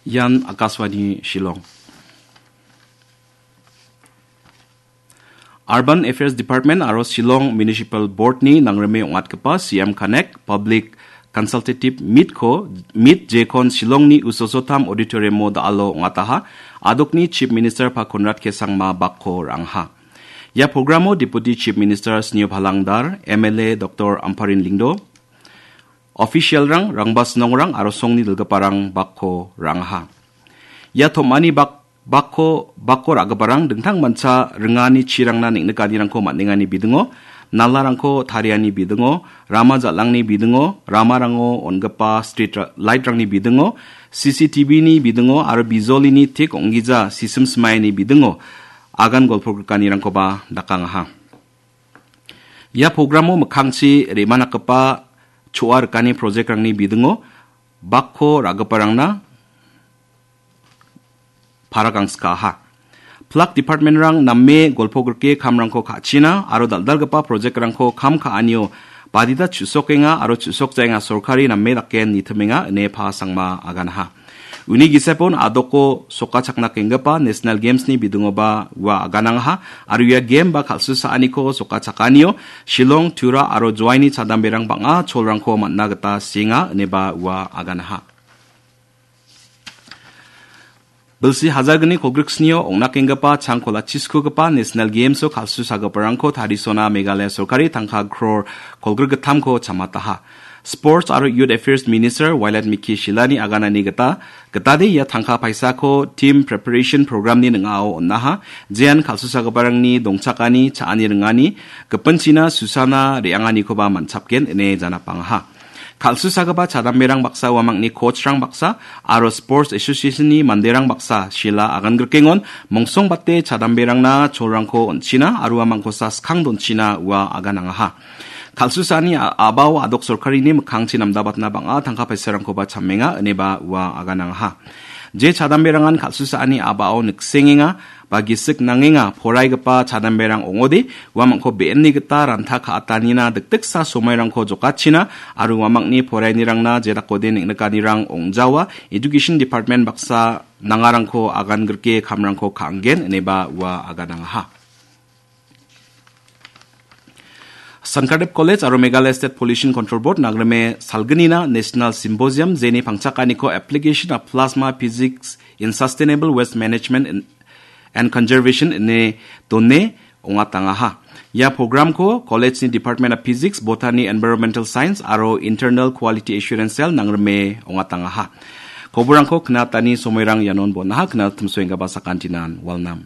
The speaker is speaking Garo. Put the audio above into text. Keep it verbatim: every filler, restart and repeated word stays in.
Ian Akashvani Shillong. Urban Affairs Department aro Shillong Municipal Board-ni nangrime ong·atgipa C M Connect Public Consultative Meet-ko, Meet jekon Shillongni Usosotam Auditorium-o da·alo ong·ataha. Adokni Chief Minister pa Conrad K Sangma bakko ra·angha. Ia programo Deputy Chief Minister Sneo Phalangdar, M L A Doktor Amparin Lyngdoh, official-rang, Rangbah Snongrang aro songni dilgiparang bakko ra·angha. Ia tom·ani bak-, bakko, bakko ra·giparang dingtang mancha ringani chirangna neng·nikanirangko man·engani bidingo, nalarangko tariani bidingo, rama jal·angni bidingo, ramarango on·gipa street ra-, light-rangni bidingo, C C T V-ni bidingo aro bijolini tik ong·gija sisim smaini bidingo agan golpogrikanirangkoba dakangaha. Ia programo mikkangchi re·manakgipa choa rikani project-rangni bidingo bakko ra·giparangna paragangskaha. Plak department-rang name golpogrike kamrangko ka·china aro dal·dalgipa project-rangko kam ka·anio badita chu·sokenga aro chu·sokjaenga sorkari name dake nitimenga ine Pa Sangma aganaha. Uni gisepon adoko sokachakna kenggipa National Games-ni bidingoba ua aganangaha, aro ia game ba kal·susaaniko sokachakanio Shillong, Tura aro Jowaini chadamberang bang·a cholrangko man·na gita sienga ineba ua aganaha. Bilsi hajar gni kolgriksnio ong·nakenggipa changkola chiskugipa National Games-o kal·susagiparangko tarisona Meghalaya sorkari tangka crore kolgrikgittamko chamataha. Sports aro Youth Affairs Minister Wailadmiki Shyllani aganani gita, gitade ia tangka paisako Team Preparation Program-ni ning·ao on·aha, jean kal·susagiparangni dongchakani, cha·ani ringani, gipinchina susana re·anganikoba man·chapgen ine janapangaha. Kal·susagipa chadamberang baksa, uamangni coach-rang baksa, aro Sports Association-ni manderang baksa, Shylla agangrikengon mongsongbate chadamberangna cholrangko on·china aro uamangkosa skang donchina ua aganangaha. Kal·susaani a-, a·bao adok sorkarini mikkangchi namdabatna bang·a tangka paisarangkoba chamenga ineba ua aganangaha. Je chadamberangan kal·susaani a·bao niksengenga ba gisik nangenga poraigipa chadamberang ong·ode, uamangko be·enni gita ranta ka·atanina dikdiksa somoirangko jokachina aro uamangni porainirangna jedakode neng·nikanirang ong·jawa, Education Department baksa nangarangko agangrike kamrangko ka·anggen ineba ua aganangaha. Sankardev College aro Meghalaya State Pollution Control Board nangrime salgnina National Symposium jeni pangchakaniko Application of Plasma Physics in Sustainable Waste Management in, and Conservation ine done ong·atangaha. Ia programko college-ni Department of Physics, Botany, Environmental Science aro Internal Quality Assurance Cell nangrime ong·atangaha. Koborangko knatani somoirang ianon bon·aha, knat timsoenggipa sakantinan walnam.